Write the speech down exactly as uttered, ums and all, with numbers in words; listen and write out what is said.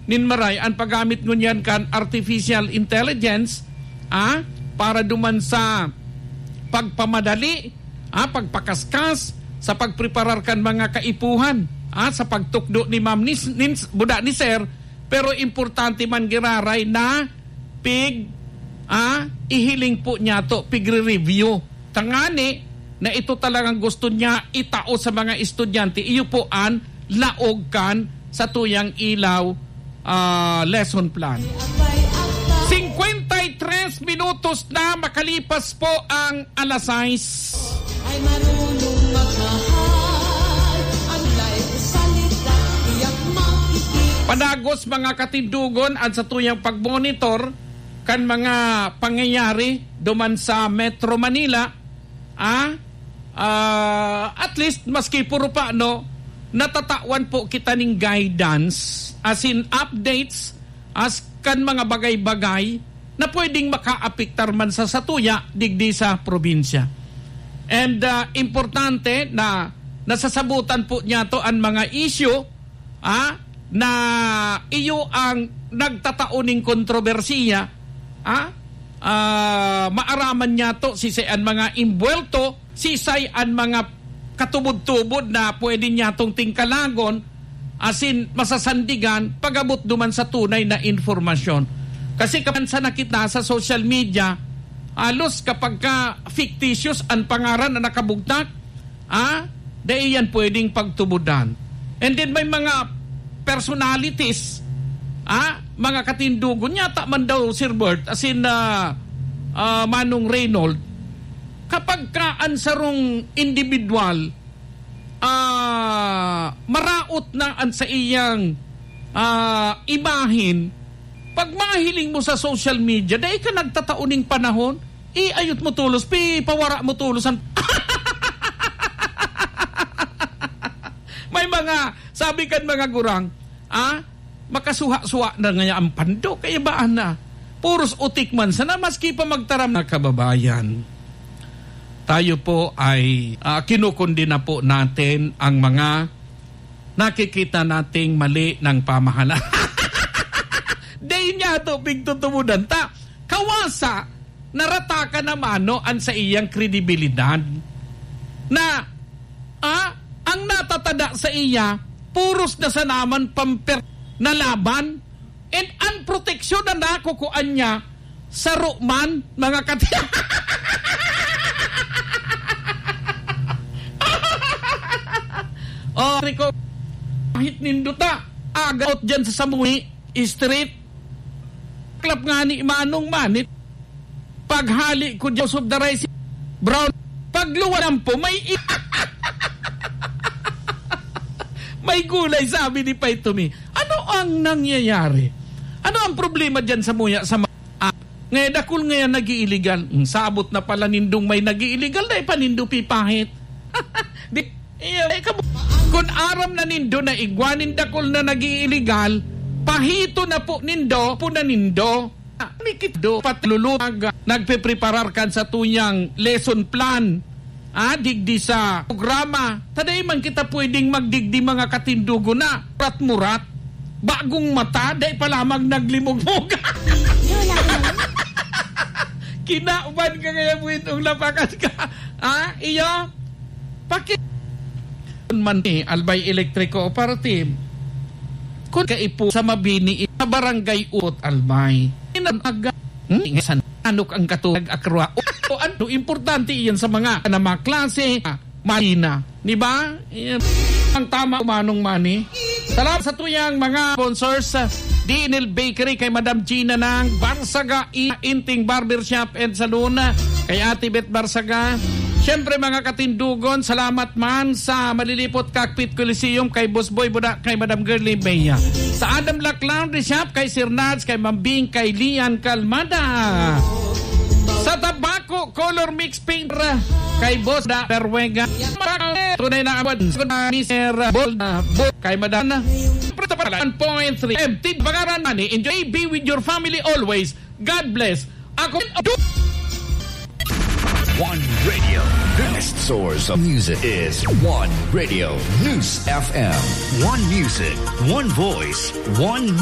nin maray an paggamit ngunyan kan artificial intelligence, ah, para duman sa pagpamadali, ah, pagpakaskas sa pagpreparar kan mga kaipuhan, ah, sa pagtukdo ni Ma'am ni, nin, buda ni Sir, pero importante man giraray na pig, ah, ihiling po niya to, pigre-review. Tangani na ito talagang gusto niya itao sa mga estudyante, iyo po an laog kan satuyang ilaw, ah, lesson plan. Cincuenta y tres minutos na makalipas po ang alas sais. Ay marunong magmahal, ang life salita, tiyak makikita. Padagos, mga katindugon, an satuyang pagmonitor kan mga pangyayari duman sa Metro Manila, ah, ah, at least, maski puro pa, no, natatawan po kita ning guidance, as in updates, as kan mga bagay-bagay na pwedeng makaapektar man sa satuya digdi sa probinsya. And, ah, importante na nasasabutan po niya to an mga issue, ah, na iyo ang nagtatao ning kontrobersiya, ah, ah, maaraman niya to, sisay an mga imbuwelto, sisay an mga katubod-tubod na pwede niya tong tingkalagon, asin masasandigan pag-abot duman sa tunay na impormasyon. Kasi kapansa na kita sa social media, halos kapag ka fictitious an pangaran na nakabugtak, ah, dai yan pwedeng pagtubodan. And then may mga personalities, ah, mga katindugon, yata man daw, Sir Bert, as in, ah, ah, Manong Reynold, kapag ka an sarong individual, ah, maraot na an saiyang, ah, imahen, pag mahiling mo sa social media, dai ka nagtatao ning panahon, iayot mo tolos, pi-, pawara mo tolos an May mga, sabi kan mga gurang, ah, makasuha-suha na ngaya an pando, kaya baan na? Puros utik man sana, maski pa magtaram na kababayan. Tayo po ay, ah, kinukundina po natin ang mga nakikita nating mali ng pamahalaan. Dai niya to pigtutubodan ta. Kawasa, naratakan na mano an saiyang kredibilidad. Na, ah, ang natatada sa iya, puros na sanaman pamper na laban, and ang proteksyon na nakukuan niya, saro man, mga kati-, Oh, Rico, kahit nindota, agot dyan sa Samui Street, klap nga ni Manong Manit. Paghali ko dyan, subdaray si Brown. Pagluwanan po, may i-, may gulay, sabi ni Pay to me. Ano ang nangyayari? Ano ang problema dyan sa muya, sa ma-, ah, ngayon, dakul ngayon nag-iiligal. Hmm, sabot na pala nindong may nag-iiligal, dai pa nindo pipahit. Di, iyo, eh, kab-, kun aram na nindo na igwa nin dakul na nag-iiligal, pahito na po nindo, po na nindo. Mikit do, patlulutag, nagpepreparar kan satuyang lesson plan, ah, digdi sa programa. Ta dai man kita pwedeng magdigdi, mga katindugo, na murat-murat. Bagong mata, dai pa lamang naglimugmog. Kinaban ka kaya buwitong lapakan ka. Ah, iyo? Paki-, man ni Albay Electric Cooperative. Kun kaipo sa Mabini, sa Barangay Utot, Albay. Inamaga. Hmm? San anok ang katulad, akrwa? O, o ano, importante iyan sa mga na mga klase, ah, Marina. Di ba? Iyan ang tama, Manong Manny. Salamat sa tuyang mga sponsors, ah, D N L Bakery, kay Madam Gina ng Barsaga, I-, Inting Barbershop and Salon, ah, kay Ate Beth Barsaga. Siyempre, mga katindugon, salamat man sa Malilipot Cockpit Coliseum, kay Boss Boy Buda, kay Madam Girlie Bea. Sa Adam Black Laundry Shop, kay Sir Nads, kay Ma'am Bing, kay Lian Calmada. Sa Tabaco Color Mix Paint, kay Boss Da Berwega. Tunay na award, Mister Bol, Bol, kay Madam. One point three M T, Pangaran Money, enjoy, be with your family always. God bless. Ako, One Radio. The best source of music is One Radio News F M. One music, one voice, one